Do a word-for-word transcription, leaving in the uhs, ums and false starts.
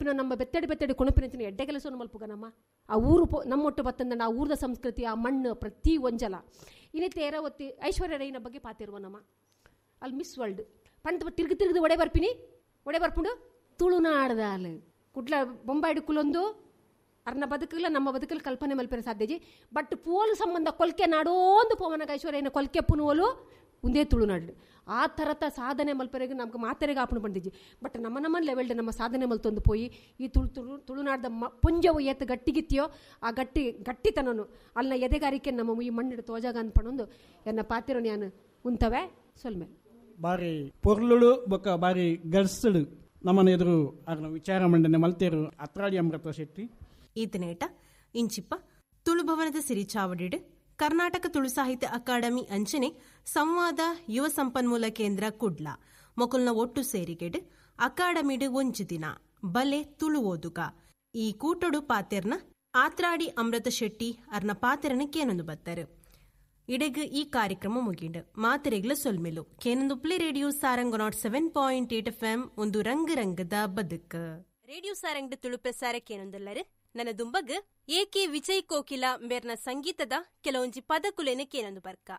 ಪನ್ಪಿನ ನಮ್ಮ ಬೆತ್ತಡಿ ಬೆತ್ತಡಿ ಕೊಣಪಿನ ಎಡ್ಡೆ ಕೆಲಸವನ್ನು ಮಲ್ಪುಗ ನಮ್ಮ ಆ ಊರು ಪೋ ನಮ್ಮೊಟ್ಟು ಬತ್ತಂದ ಆ ಊರದ ಸಂಸ್ಕೃತಿ, ಆ ಮಣ್ಣು ಪ್ರತಿ ಒಂಜಲ. ಇನ್ನಿತ್ತೆ ಏರ ಒತ್ತಿ ಐಶ್ವರ್ಯ ರೈನ ಬಗ್ಗೆ ಪಾತಿರುವ ನಮ್ಮ ಅಲ್ಲಿ ಮಿಸ್ ವರ್ಲ್ಡ್ ಪಂಡ ತಿರುಗಿ ತಿರುಗಿ ಒಡೆ ಬರ್ಪಿನಿ ಒಡೆ ಬರ್ಪುಂಡು ತುಳುನಾಡ್ದಾಲ್ ಕುಡ್ಲ ಬೊಂಬಾಯ್ಡು ಕುಲೊಂದು ಅರ್ನ ಬದುಕಲ್ಲ ನಮ್ಮ ಬದುಕಲ್ಲಿ ಕಲ್ಪನೆ ಮಲ್ಪೆರ ಸಾಧ್ಯಜಿ. ಬಟ್ ಪೋಲು ಸಂಬಂಧ ಕೊಲ್ಕೆ ನಾಡೋಂದು ಪೋವನಗ ಐಶ್ವರ್ಯನ ಕೊಲ್ಕೆ ಪುನುವಲು ಒಂದೇ ತುಳುನಾಡು. ಆ ಥರದ ಸಾಧನೆ ಮಲ್ಪರೆಗೆ ನಮ್ಗೆ ಮಾತೆರೆಗೆ ಆಪಣೆ ಬಂದಿಜ್ಜಿ. ಬಟ್ ನಮ್ಮ ನಮ್ಮ ಲೆವೆಲ್ಡ್ ನಮ್ಮ ಸಾಧನೆ ಮಲ್ತೊಂದು ಪೋಯಿ ಈ ತುಳು ತುಳು ತುಳುನಾಡ್ದ ಮ ಪುಂಜವು ಏತ್ ಗಟ್ಟಿಗಿತ್ತಿಯೋ ಆ ಗಟ್ಟಿ ಗಟ್ಟಿತನನು ಅಲ್ಲಿನ ಎದೆಗಾರಿಕೆ ನಮ್ಮ ಈ ಮಣ್ಣಿಡು ತೋಜಾಗ ಅನ್ಪಣೊಂದು ಎನ್ನ ಪಾತಿರೋ ನಾನು ಉಂತವೆ ಸೊಲ್ಮೆ. ಬಾರಿ ಪೊರ್ಲುಳು ಬೊಕ್ಕ ಬಾರಿ ಗರ್ಸಳು ನಮ್ಮನ ಎದುರು ಅರ್ನ ವಿಚಾರ ಮಂಡನೆ ಮಲ್ತೇರು ಅತ್ರಾಡಿ ಅಮೃತ ಶೆಟ್ಟಿ. ಈತನೇಟ ಇಂಚಿಪ್ಪ ತುಳುಭವನದ ಸಿರಿಚಾವಡಿಡು ಕರ್ನಾಟಕ ತುಳು ಸಾಹಿತ್ಯ ಅಕಾಡೆಮಿ ಅಂಚನೆ ಸಂವಾದ ಯುವ ಸಂಪನ್ಮೂಲ ಕೇಂದ್ರ ಕುಡ್ಲ ಮೊಕಲ್ನ ಒಟ್ಟು ಸೇರಿಗೆಡು ಅಕಾಡೆಮಿಡು ಒಂಜಿ ದಿನ ಬಲೆ ತುಳು ಓದುಗ ಈ ಕೂಟೊಡು ಪಾತೆರ್ನ ಆತ್ರಾಡಿ ಅಮೃತ ಶೆಟ್ಟಿ ಅರ್ನ ಪಾತೆರನ ಕೇನೊಂದು ಬತ್ತರು. ಇಡೆಗ್ ಈ ಕಾರ್ಯಕ್ರಮ ಮುಗಿಂಡು ಮಾತೆರೆಗ್ಲ ಸೊಲ್ಮೆಲು ಕೇನೊಂದು radio Sarang nought seven point eight F M ಒಂದು ರಂಗ ರಂಗದ ಬದುಕು. ರೇಡಿಯೋ ಸಾರಂಗ್ ತುಳು ಪ್ರಸಾರ ಕೇನೊಂದಲ್ಲರು ನನ್ನ ದುಂಬಗ್ ಎ ಕೆ ವಿಜಯ್ ಕೋಕಿಲ ಮೇರ್ನ ಸಂಗೀತದ ಕೆಲವೊಂಜಿ ಪದಕುಲೇನ ಕೇನೊಂದು ಬರ್ಕ.